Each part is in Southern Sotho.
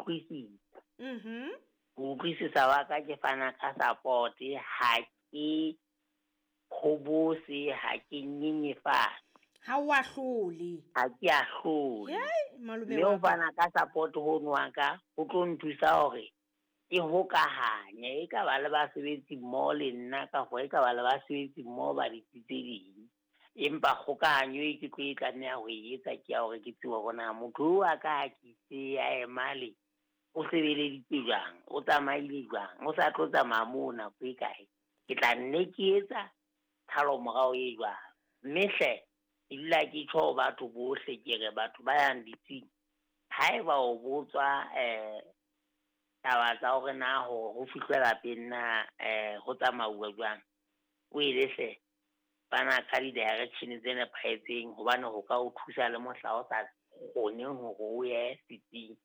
Utlwisisa. Ho utlwisisa wa ka ke fana ka support, ha ke hobose, ha ke nyenyefatse. Ha o ahlole. Ha ke ahlole. Hei, malome Mme ho wa ka. fana ka support hono wa ka ho tlo nthusa hore ke hokahanye, e ka ba le basebetsi mmoho le nna kapa e ka ba le basebetsi mmoho ba ditsi tse ding. Empa kgokahanyo e ke tlo e tlameha ho e etsa ke ya hore ke tsebe hore na motho oo wa ka ha ke itse a emale o sebeleditse jwang, o tsamaile jwang, o sa tlo tsamaya moo nako e kae. Ke tla nne ke etsa tshalo morao e jwang. Mme hle ke dula ke tjho ho batho bohle, ke re batho ba yang ditsing, haeba o botswa taba tsa hore na hore ho fihlwe lapeng na ho tsamauwa jwang, o ele hle fana ka di-direction tse nepahetseng, hobane ho ka o thusa le mohla o sa kgoneng hore o ye setsing.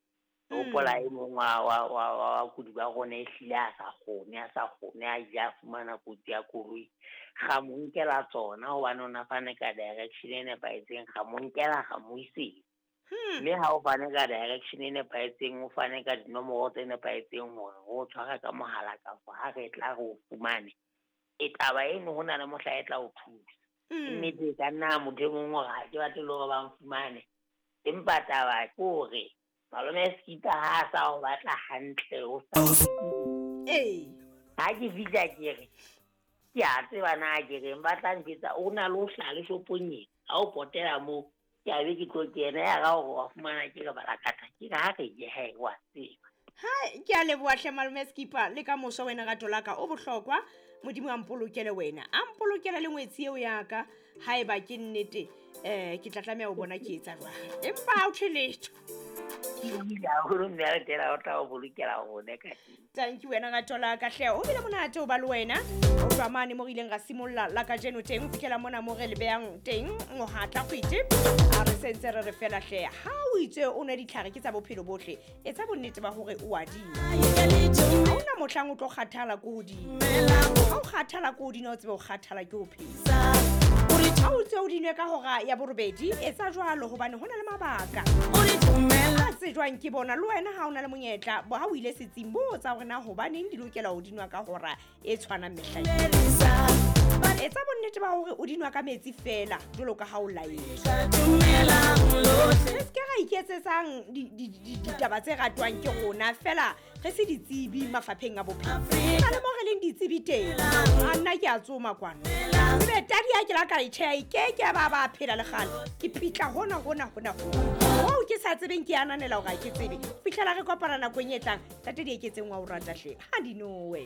Hopola e mong wa bakudi ba rona e hlile a sa kgone, a sa kgone, a ile a fumana kotsi ya koloi. Ra mo nkela tsona hobane o na fane ka direction e nepahetseng, ra mo nkela, ra mo isetsa. Mme ha o fane ka direction e nepahetseng, o fane ka dinomoro tse nepahetseng hore re o tshware ka mohala kapa ha re tla re o fumane, e taba eno ho na le mohla e tla o thusa. Nnete e ka nna motho e mong hore ha ke batle le hore ba nfumane, empa taba ke hore malome Skipper ha a sa o batla hantle o sa Ha ke fihla ke re ke a tseba na ke reng, ba tla njwetsa o na le ho hlaha le shopong ena, ha o potela moo ke a be ke tlo kena, ya ra hore wa fumana ke re balakatha, ke re ha re ye hae wa tseba. Hai, ke a leboha hle malome Skipper, le ka moso wena rato la ka o bohlokwa. Modimo a mpolokele wena, a mpolokele le ngwetsi eo ya ka. Haeba ke nnete, ke tla tlameha ho bona ke etsa jwang, empa ha ho thwe letho. Haholo mme a re tela o tla o bolokela rona ka teng. Thank you wena rato la ka hle, o bile monate ho ba le wena. O tloha mane mo re ileng ra simolla la kajeno teng, ho fihlela mona mo re le behang teng mohatla kgwete. A re sentse re re fela hle, ha o itse o nwe ditlhare ke tsa bophelo bohle, etsa bonnete ba hore o a di nwa. Ha hona mohlang o tlo kgathala ko hodimo. Ha o kgathala ko hodimo, o tsebe o kgathala ke ho phela. Ha o ntse o di nwe ka hora ya borobedi, etsa jwalo hobane ho na le mabaka a tsejwang ke bona. Le wena ha o na le monyetla, ha o ile setsing, botsa hore na hobaneng di lokela ho di nwa ka hora e tshwanang mehla yohle. Etsa bonnete ba hore o di nwa ka metsi feela, jwalo ka ha o laetswe. Re se ke ra iketsetsang ditaba tse ratwang ke rona feela, re se ditsebi mafapheng a bophelo. Ho na le mo re leng ditsebi teng. A nna ke a tsoma kwano. Ebe tadi ha ke la ka e tjheha, e ke ke ya ba ba phela le kgale. Ke pitla hona, hona, hona, hona. Hoo ke sa tsebeng, ke ananela hore ha ke tsebe. Ho fihlela re kopana nakong e tlang, Ntate Dieketseng wa o rata hle. Ha di nowe.